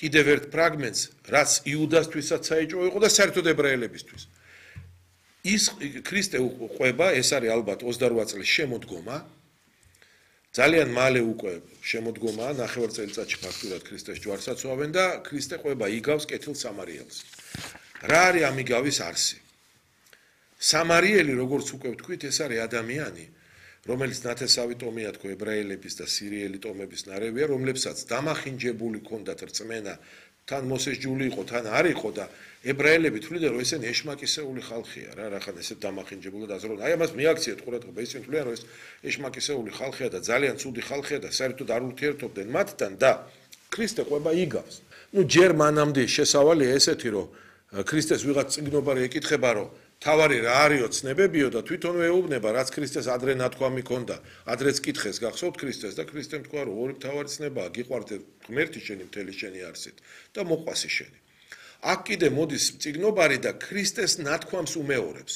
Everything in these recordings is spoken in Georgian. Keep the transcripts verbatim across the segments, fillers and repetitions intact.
კიდევ ერთ ფრაგმენტს, რაც იუდასთვისაც საეჭვო იყო და საერთოდ ებრაელებისთვის. ის ქრისტე ყვება, ეს არის ალბათ ოცდარვა წლის შემოდგომა. ძალიან მალე უკვე შემოდგომაა, ნახევარ წელიწადში ფაქტურად ქრისტეს ჯვარს აცვავენ და ქრისტე ყვება იგავს კეთილ სამარიელს. რა არის ამ იგავის არსი? სამარიელი, როგორც უკვე ვთქვით, ეს არის ადამიანი, რომელიც ნათესავი ტომია თქო ებრაელების და სირიელი ტომების ნარევია, რომლებსაც დამახინჯებული ჰქონდათ რწმენა, თან მოსეს ჯული იყო, თან არ იყო და ებრაელები თვლიდნენ, რომ ესენი ეშმაკისეული ხალხია რა, რახან ესე დამახინჯებული და აზროვნ. აი ამას მიაქციეთ ყურადღება, ისინი თვლიან, რომ ეს ეშმაკისეული ხალხია და ძალიან ცუდი ხალხია და საერთოდ არ ურთიერთობდნენ მათთან და ქრისტე ყვება იგავს. ნუ ჯერ მანამდე შესავალია ესეთი, რომ ქრისტეს ვიღაც წიგნობარი ეკითხება, რომ თავარი რა არისო ცნებებიო და თვითონ ეუბნება, რაც ქრისტეს ადრე ნათქვამი ჰქონდა, ადრეც კითხეს, გახსოვთ ქრისტეს და ქრისტემ თქვა, რომ ორი მთავარი ცნებაა, გიყვარდე ღმერთი შენი მთელი შენი არსით და მოყვასი შენი. აქ კიდე მოდის წიგნობარი და ქრისტეს ნათქვამს უმეორებს.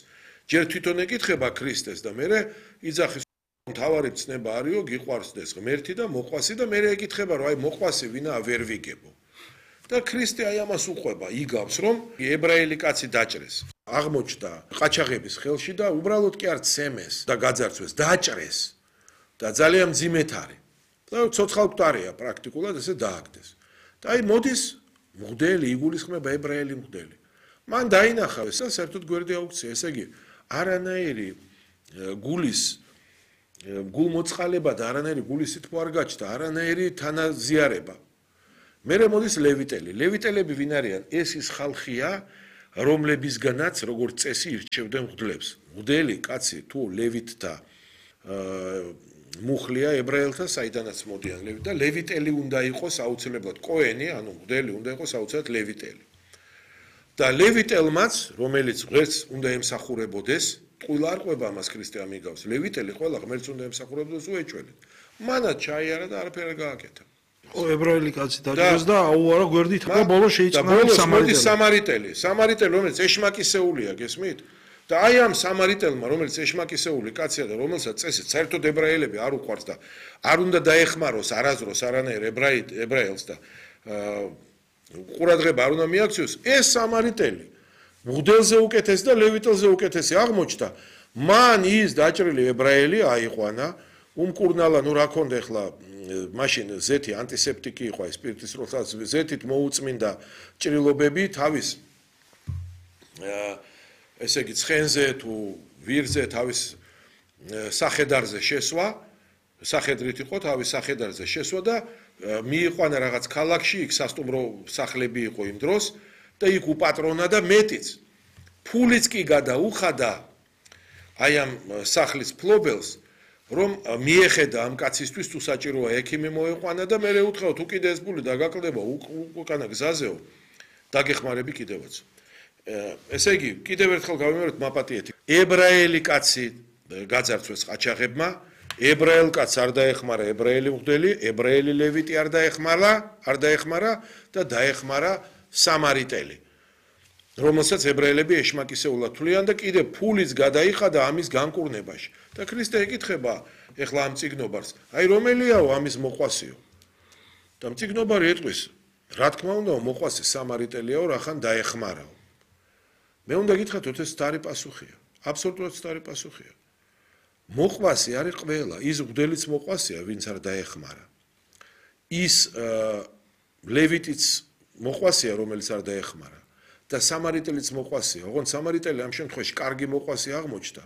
ჯერ თვითონ ეკითხება ქრისტეს და მერე იძახის მთავარი ცნება არისო, გიყვარდეს ღმერთი და მოყვასი და მერე ეკითხება, რომ აი მოყვასი ვინაა ვერ ვიგებო. და ქრისტე აი ამას უყვება, იგავს, რომ ებრაელი კაცი დაჭრეს. აღმოჩნდა ყაჩაღების ხელში და უბრალოდ კი არ ცემეს და გაძარცვეს, დაჭრეს და ძალიან მძიმედ არის. და ცოცხალ მკვდარია პრაქტიკულად ესე დააგდეს. და აი მოდის მღვდელი, იგულისხმება ებრაელი მღვდელი. მან დაინახა ეს და საერთოდ გვერდი აუქცია, ესე იგი არანაირი გულის გულმოწყალება და არანაირი გულის სითბო არ გაჩნდა, არანაირი თანაზიარება. მერე მოდის ლევიტელი. ლევიტელები ვინ არიან? ეს ის ხალხია, რომლებისგანაც როგორც წესი ირჩევდნენ მღვდლებს. მღვდელი კაცი თუ ლევიტთა მუხლია ებრაელთა, საიდანაც მოდიან ლევიტ და ლევიტელი უნდა იყოს აუცილებლად კოენი, ანუ მღვდელი უნდა იყოს აუცილებლად ლევიტელი. და ლევიტელმაც, რომელიც ღმერთს უნდა ემსახურებოდეს, ტყუილა არ ყვება ამას ქრისტე ამიგავს. ლევიტელი ყველა ღმერთს უნდა ემსახურებოდეს უეჭველით. მანაც ჩაიარა და არაფერი არ გააკეთა. ო ებრაელი კაცი დაჭრეს და აუარა გვერდით და ბოლოს შეიწყნა სამარიტელი. სამარიტელი, სამარიტელი, რომელიც ეშმაკისეულია, გესმით? და აი ამ სამარიტელმა, რომელიც ეშმაკისეული კაცია და რომელსაც წესით საერთოდ ებრაელები არ უყვარს და არ უნდა დაეხმაროს არაზროს არანაირ ებრაელს და ყურადღება არ უნდა მიაქციოს, ეს სამარიტელი მღვდელზე უკეთესი და ლევიტელზე უკეთესი აღმოჩნდა. მან ის დაჭრილი ებრაელი აიყვანა, უმკურნალა, ნუ რა ქონდა ახლა მაშინ ზეთი ანტისეპტიკი იყო, აი სპირტის როხას ზეთით მოუწმინდა ჭრილობები თავის ესე იგი ცხენზე თუ ვირზე თავის სახედარზე შესვა, სახედრით იყო თავის სახედარზე შესვა და მიიყვანა რაღაც ქალაქში, იქ სასტუმრო სახლები იყო იმ დროს და იქ უპატრონა და მეტიც. ფულიც კი გადაუხადა აი ამ სახლის ფლობელს, რომ მიეხედა ამ კაცისთვის თუ საჭიროა ექიმი მოეყვანა და მერე უთხრა თუ კიდე ეს ფული დაგაკლდება უკანა გზაზეო, დაგეხმარები კიდევაც. ესე იგი, კიდევ ერთხელ გავიმეორებ მაპატიეთი. ებრაელი კაცი გაძარცვეს ყაჩაღებმა, ებრაელ კაცს არ დაეხმარა ებრაელი მღვდელი, ებრაელი ლევიტი არ დაეხმარა, არ დაეხმარა და დაეხმარა სამარიტელი, რომელსაც ებრაელები ეშმაკისეულად თვლიან და კიდე ფულიც გადაიხადა ამის განკურნებაში. და ქრისტე ეკითხება ეხლა ამ წიგნობარს, აი რომელიაო ამის მოყვასიო? და წიგნობარი ეტყვის, რა თქმა უნდა, მოყვასი სამარიტელიაო, რახან დაეხმარაო. მე უნდა გითხრათ, რომ ეს სტარი პასუხია. აბსოლუტურად სტარი პასუხია. მოყვასი არის ყველა, ის მღვდელიც მოყვასია, ვინც არ დაეხმარა. ის ლევიტიც მოყვასია, რომელიც არ დაეხმარა. და სამარიტელიც მოყვასია. ოღონდ სამარიტელი ამ შემთხვევაში კარგი მოყვასი აღმოჩნდა.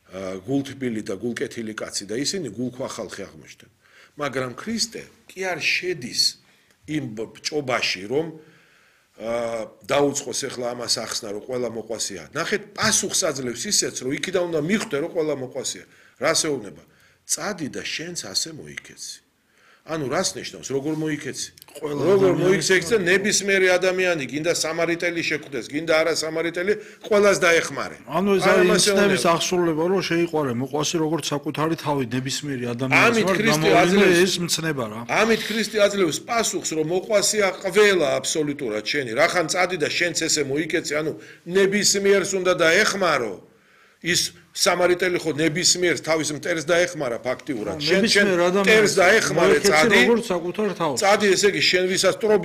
გულთბილი და გულკეთილი კაცი და ისინი გულქვა ხალხი აღმოჩნდნენ. მაგრამ ქრისტე კი არ შედის იმ ჭობაში, რომ დაუწყოს ახლა ამას ახსნა, რომ ყველა მოყვასია. ნახეთ, პასუხს აძლევს ისეც, რომ იქიდან უნდა მიხვდე, რომ ყველა მოყვასია. რას ეუბნება? წადი და შენც ასე მოიქეცი. ანუ რას ნიშნავს, როგორ მოიქეცი? როგორ მოიქეცი და ნებისმიერი ადამიანი, გინდა სამარიტელი შეხვდეს, გინდა არა სამარიტელი, ყველას დაეხმარე. ანუ ეს არის ისნების აღსრულება, რომ შეიყვარე მოყვასი როგორც საკუთარი თავი ნებისმიერი ადამიანის ვარ, გამოვლინდა ეს მცნება რა. ამით ქრისტე აძლევს პასუხს, რომ მოყვასია ყველა აბსოლუტურად შენი. რახან წადი და შენც ესე მოიქეცი, ანუ ნებისმიერს უნდა დაეხმარო. ის სამარიტელი ხო ნებისმიერს თავის მტერს დაეხმარა ფაქტიურად. შენ შენ მტერს დაეხმარე, წადი. წადი, ესე იგი შენ ვისაც ტრობი